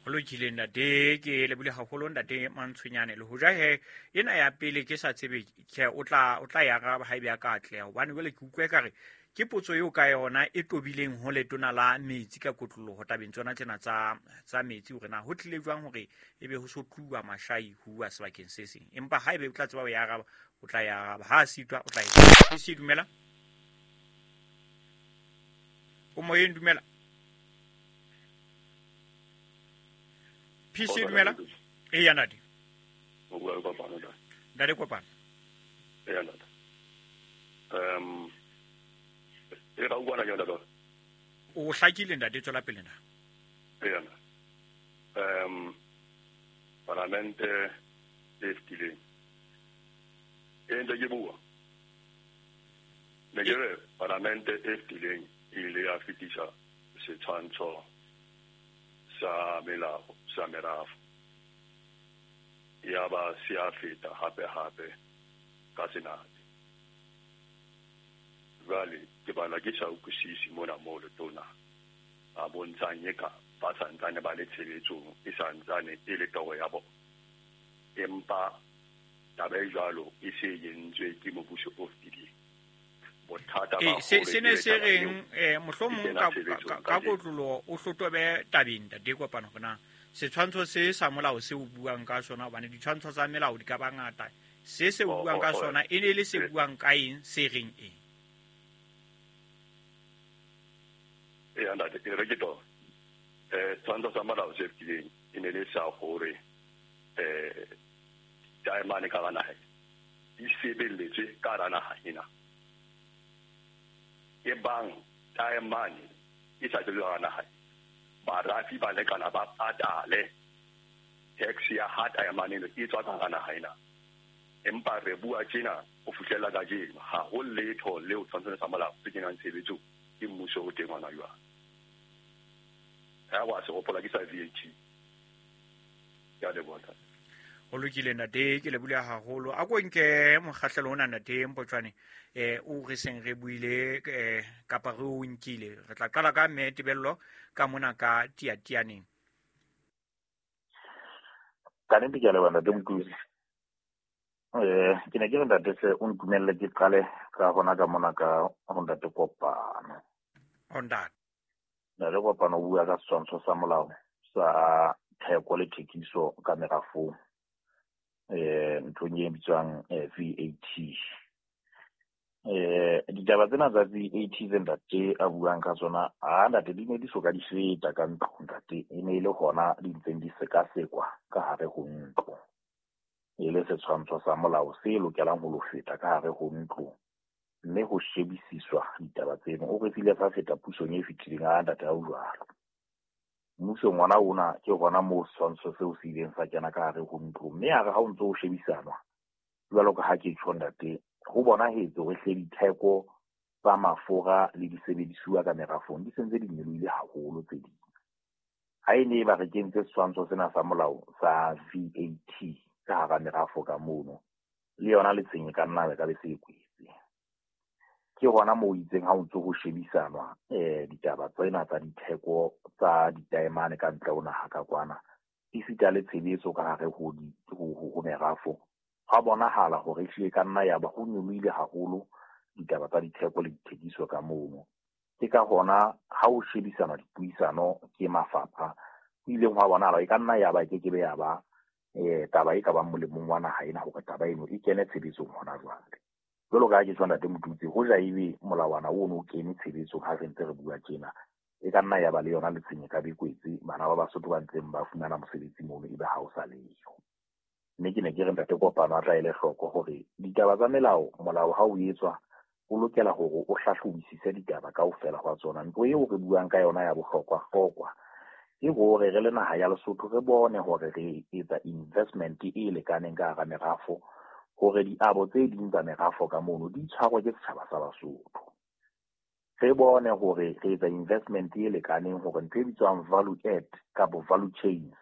[SPEAKER 1] Ho lokile ntate, ke lebile haholo ntate Mantshonyane. Le hoja he ena ya pele ke sa tsebe ke o tla ya araba haebe a ka atleha, hobane jwale ke utlwe ekare ke potso eo ka yona e tobileng ho letona la metsi ka kotloloho tabeng tsona tsena tsa metsi, hore na ho tlile jwang hore ebe ho so tluwa Mashai ho uwa sebakeng se seng. Empa haebe o tla tseba ho ya araba, o tla ya araba. Ha a sitwa o tla e. Se dumela. O moyeng, dumela. PC dumela. E ya ntate.
[SPEAKER 5] O bua le Kopano ntate.
[SPEAKER 1] Ntate Kopano.
[SPEAKER 5] E ya ntate. E ra utlwana ke ntate.
[SPEAKER 1] O hlakile ntate, tswela pele na.
[SPEAKER 5] E ya ntate. Parlamente e fetileng. E ntse ke bua. Ne ke re parlamente e fetileng e ile ya fetisa setshwantsho sa melao sa merafo. Ya ba se a feta hape hape ka Senate. Jwale ke bana ke sa utlwisisi mona moo letona a bontshang eka ba santsane ba le tshebetsong e santsane e le toro ya bona. Empa taba e jwalo e se entswe ke mobuso o fetileng. Bothata ba
[SPEAKER 1] se ne se reng mohlomong ka kotloloho o hlotobe tabeng ntate Kopano hore na setshwantsho se sa molao se o buang ka sona, hobane ditshwantsho tsa melao di ka ba ngata. Se se o buang ka sona e ne le se buang ka eng, se reng eng?
[SPEAKER 5] E ntate, e re ke to. Setshwantsho sa molao se fetileng e ne le sa hore taemane ka hara naha di sebeletswe ka hara naha ena. E bang taemane e sa sebetswe ka hara naha, barafi ba lekana ba patale tax ya ha taemane eno e tswa ka hara naha ena. Empa re bua tjena ho fihlela kajeno ha ho letho leo tshwantsho sa molao se kenang tshebetsong ke mmuso o teng hona jwale. Ha wa se hopola ke sa VAT. Ke a leboha.
[SPEAKER 1] Ho lokile ntate, ke lebile haholo. A ko nke mokgahlelo ona ntate Mpotjwane, o re seng re buile kapa re o nkile. Re tla qala ka mme Tebello ka mona ka Tiatianeng.
[SPEAKER 2] Ka nnete ke a leboha ntate Motutsi. Ke ne ke re ntate hle o ntumelle ke qale ka hona ka mona ka ho ntate Kopano.
[SPEAKER 1] Ho ntate.
[SPEAKER 2] Ntate Kopano o bua ka setshwantsho sa molao sa theko le thekiso ka merafong. Nthong e bitswang VAT. Ditaba tsena tsa VAT tse ntate a buang ka tsona, a ntate di ne di soka di feta ka ntlo ntate, e ne e le hona di ntseng di sekasekwa ka hare ho ntlo. E le setshwantsho sa molao se lokelang ho lo feta ka hare ho ntlo. Mme ho shebisiswa ditaba tseno. O re file sa feta pusong e fetileng a ntate ha o jwalo. Mmusong ona ona ke hona moo setshwantsho seo se ileng sa kena ka hare ho ntlo. Mme a re ha o ntso o shebisanwa, jwalo ka ha ke tjho ntate, ho bonahetse hore hle ditheko tsa mafura le disebedisuwa ka merafong di sentse di nyolohile haholo tse ding. Ha e ne e ba re kentse setshwantsho sena sa molao sa VAT ka hara merafo ka mono, le yona letsheng e ka nna be ka be se e kwetse. Ke hona moo itseng ha o ntso ho shebisanwa ditaba tsena tsa ditheko tsa ditaemane ka ntle ho naha ka kwana, esita le tshebetso ka hare ho merafo, hwa bonahala hore ehlile ka nna ya ba ho nyolohile haholo ditaba tsa ditheko le dithekiso ka mono. Ke ka hona ha o shebisanwa dipuisano ke mafapha, ho ileng hwa bonahala e ka nna ya ba e kekebe ya ba taba e ka bang molemong wa naha ena hore taba eno e kene tshebetsong hona jwale. Jwalo ka ha ke tjho ntate Motutsi, hoja ebe molawana ono o kene tshebetsong ha re ntse re bua tjena, e ka nna ya ba le yona letsheng e ka be kwetse bana ba Basotho ba ntseng ba fumana mosebetsi mono ebe ha o sa leyo. Mme ke ne ke re ntate Kopano a tla ele hloko hore ditaba tsa melao, molao ha o etswa o lokela hore o hlahlobisise ditaba kaofela hwa tsona. Ntho eo re buang ka yona ya bohlokwa-hlokwa ke hore re le naha ya Lesotho re bone hore re etsa investment e lekaneng ka hara merafo, hore diabo tse ding tsa merafo ka mono di tshwarwe ke setjhaba sa Basotho. Re bone hore re etsa investment e lekaneng hore ntho e bitswang value add kapo value chains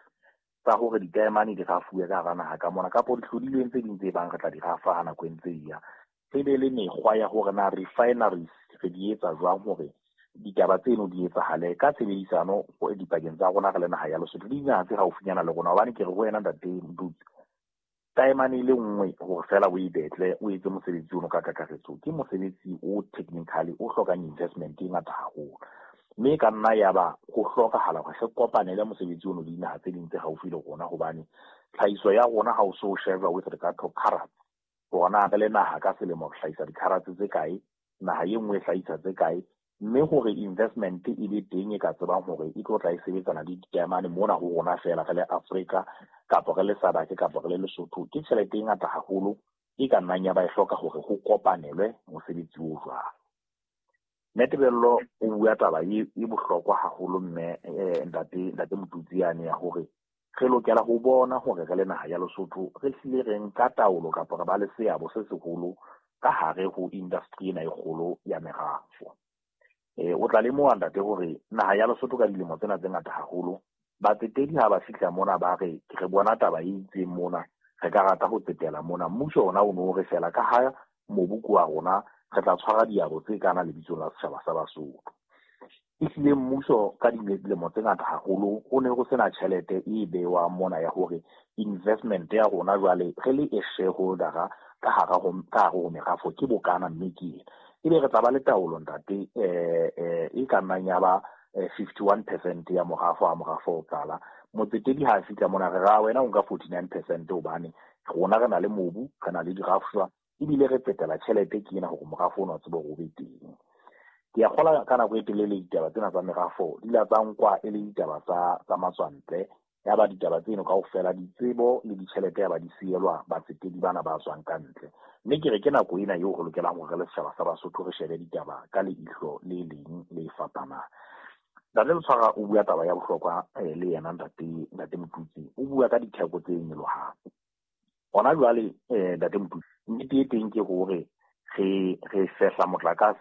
[SPEAKER 2] tsa hore ditaemane di rafuwe ka hara naha ka mona, kapo dihlodilweng tse ding tse bang re tla di rafa ha nako e ntse e ya. Re be le mekgwa ya hore na refineries re di etsa jwang hore ditaba tseno di etsahale ka tshebedisano dipakeng tsa rona re le naha ya Lesotho le dinaha tse haufinyana le rona. Hobane ke re ho wena ntate Motutsi, taemane e le nngwe hore fela o e betle o etse mosebetsi ono ka kakaretso ke mosebetsi o technically o hlokang investment e ngata haholo. Mme e ka nna ya ba ho hlokahala hore re kopanele mosebetsi ono le dinaha tse ding tse haufi le rona, hobane tlhahiso ya rona ha o so sheba with regard to carats, hore na re le naha ka selemo re hlahisa di-carats tse kae, naha e nngwe e hlahisa tse kae, mme hore investment e be teng e ka tsebang hore e tlo tla e sebetsana le ditaemane mona ho rona fela re le Afrika kapa re le SADC kapa re le Lesotho, ke tjhelete e ngata haholo e ka nnang ya ba e hloka hore ho kopanelwe mosebetsi o jwalo. Mme Tebello o bua taba e bohlokwa haholo mme ntate Motutsi yane ya hore re lokela ho bona hore re le naha ya Lesotho re hlile re nka taolo kapa re ba le seabo se seholo ka hare ho industry ena e kgolo ya merafo. O tla lemoha ntate hore naha ya Lesotho ka dilemo tsena tse ngata haholo, batsetedi ha ba fihla mona ba re re bona taba e itseng mona, re ka rata ho tsetela mona. Mmuso ona o no re fela ka ha mobu ke wa rona, re tla tshwara diabo tse kana lebitsong la setjhaba sa Basotho. Ehlile mmuso ka dilemo tse ngata haholo ho ne ho sena tjhelete e bewang mona ya hore investment ya rona jwale re le e shareholder-a ka hara ho merafo ke bokana mme ke ena. Ebe re tla ba le taolo ntate e ka nnang ya ba 51% ya morafo ha morafo o qala. Motsetedi ha a fihla mona re ra wena o nka 49% hobane rona re na le mobu, re na le dirafshwa, ebile re tsetela tjhelete ke ena hore morafo ona o tsebe hore o be teng. Ke a kgolwa ka nako e telele ditaba tsena tsa merafo di la tsa nkwa e le ditaba tsa matswantle, ya ba ditaba tseno kaofela ditsebo le ditjhelete ya ba di sielwa batsetedi bana ba tswang ka ntle. Mme ke re ke nako ena eo re lokelang hore re le setjhaba sa Basotho re shebe ditaba ka leihlo le leng le fapanang. Ntate Letshwara o bua taba ya bohlokwa le yena ntate Motutsi, o bua ka ditheko tse nyolohang. Hona jwale ntate Motutsi, nnete e teng ke hore re fehla motlakase